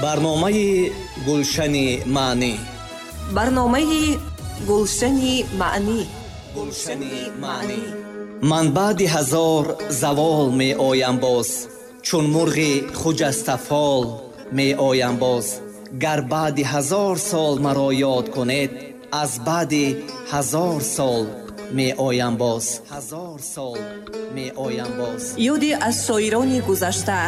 Барномаи Гулшани маънӣ. Барномаи Гулшани маънӣ. Гулшани маънӣ. Ман баъди ҳазор завол меоям боз, чун мурғи хуҷастафол меоям боз. Гар баъди ҳазор сол маро ёд кунед, аз баъди ҳазор сол меоям боз. Ҳазор сол меоям боз. Ёде аз шоирони гузашта,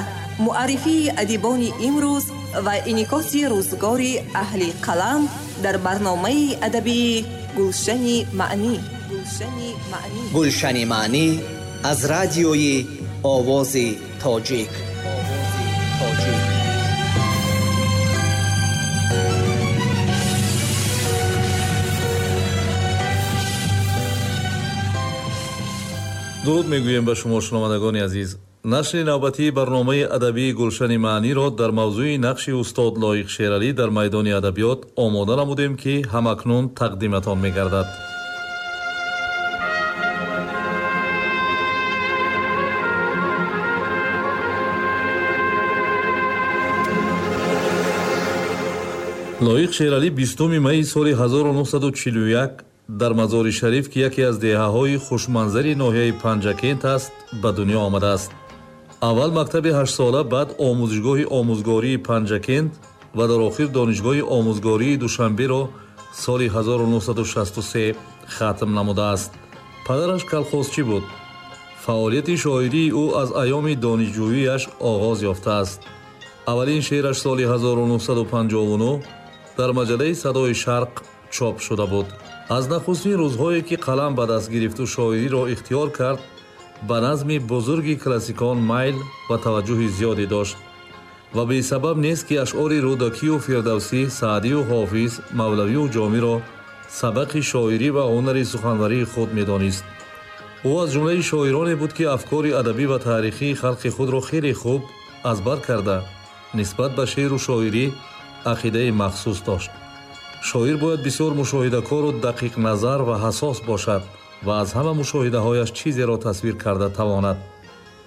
муаррифии адибони имрӯз ва инъикоси рӯзгори аҳли қалам дар барномаи адабии Гулшани маънӣ. Гулшани маънӣ. Гулшани маънӣ аз радиои Овози Тоҷик. Овози Тоҷик. Дуруд мегӯем ба шумо, шунавандагони азиз. Нашри навбатии барномаи адабии Гулшани маъниро дар мавзӯи нақши устод Лоиқ Шералӣ дар майдони адабиёт омода намудем, ки ҳамакнун тақдиматон мегардад. Лоиқ Шералӣ 20 майи соли 1941 дар Мазори Шариф, ки яке аз деҳаҳои хушманзари ноҳияи Панҷакент аст, ба дунё омадааст. Аввал мактаби ҳаштсола, баъд омӯзишгоҳи омӯзгории Панҷакент ва дар охир донишгоҳи омӯзгории Душанберо соли 1963 хатм намудааст. Падараш калхозчӣ буд. Фаъолияти шоирии ӯ аз айёми донишҷӯияш оғоз ёфтааст. Аввалин шеъраш соли 1959 дар маҷаллаи Садои Шарқ чоп шуда буд. Аз нахустин рӯзҳое ки қалам ба даст гирифту шоириро ихтиёр кард, ба назми бузурги классикон майл ва таваҷҷӯҳи зиёде дошт ва бесабаб нест, ки ашъори Рӯдакию Фирдавсӣ, Саъдию Ҳофиз, Мавлавию Ҷомиро сабақи шоирӣ ва ҳунари суханварии худ медонист. Ӯ аз ҷумлаи шоироне буд, ки афкори адабӣ ва таърихии халқи худро хеле хуб аз бар карда, нисбат ба шеъру шоирӣ ақидаи махсус дошт. Шоир бояд бисёр мушоҳидакору дақиқназар ва ҳассос бошад ва аз ҳама мушоҳидаҳояш чизеро тасвир карда тавонад.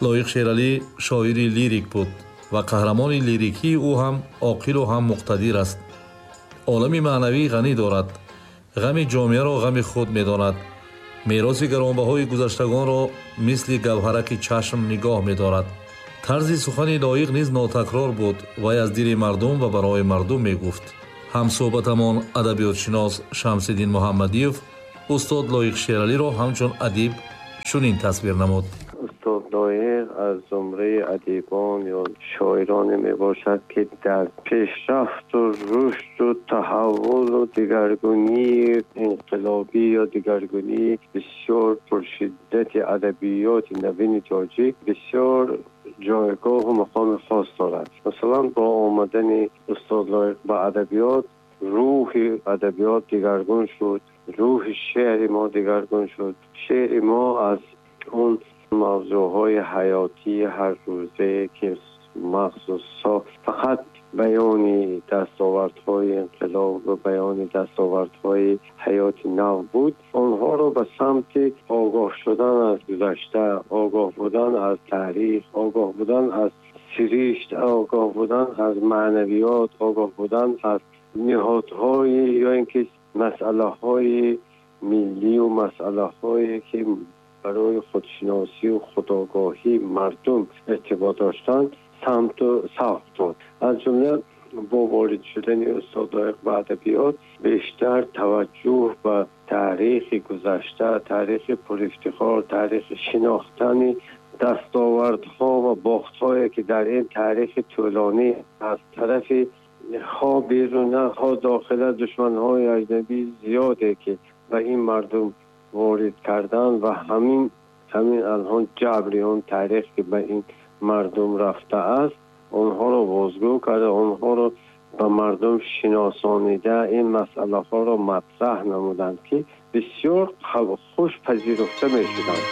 Лоиқ Шералӣ шоири лирик буд ва қаҳрамони лирикии ӯ ҳам оқилу ҳам муқтадир аст. Олами маънавӣ ғанӣ дорад, ғами ҷомеаро ғами худ медонад, мероси гаронбаҳои гузаштагонро мисли гавҳараки чашм нигоҳ медорад. Тарзи сухани Лоиқ низ нотакрор буд. Вай аз дили мардум ва барои мардум мегуфт. Ҳамсӯҳбатамон адабиётшинос Шамсиддин Муҳаммадиев устод Лоиқ Шералиро ҳамчун адиб чунин тасвир намуд. Устод Лоиқ аз зумраи адибон ё шоироне мебошад, ки дар пешрафту рушду таҳаввулу дигаргунии инқилобӣ ё дигаргунии бисёр пуршиддати адабиёти навини тоҷик бисёр ҷойгоҳу мақоми хос дорад. Масалан, бо омадани устод Лоиқ ба адабиёт, рӯҳи адабиёт дигаргун шуд, рӯҳи шеъри мо дигаргун шуд. Шеъри мо аз он мавзӯъҳои ҳаётии ҳаррӯзае, ки махсусо фақат баёни дастовардҳои инқилоб ва баёни дастовардҳои ҳаёти нав буд, онҳоро ба самти огоҳ шудан аз гузашта, огоҳ будан аз таърих, огоҳ будан аз сиришт, огоҳ будан аз маънавиёт, огоҳ будан аз ниҳодҳои ё ин ки масъалаҳои миллию масъалаҳое ки барои худшиносию худогоҳии мардум эътибор доштанд, самту савқ дод. Аз ҷумла бо ворид шудани устод Лоиқ ба адабиёт бештар таваҷҷӯҳ ба таърихи гузашта, таърихи пурифтихор, таърихи шинохтани дастовардҳо ва бохтҳое ки дар ин таърихи тӯлонӣ аз тарафи хо беруна, хо дохила душманҳои аҷнабӣ зиёде ки ба ин мардум ворид кардан ва ҳамин алҳон ҷабри он таърих ки ба ин мардум рафтааст, онҳоро бозгӯ карда, онҳоро ба мардум шиносонида, ин масъалаҳоро матраҳ намуданд, ки бисёр хуш пазируфта мешуданд.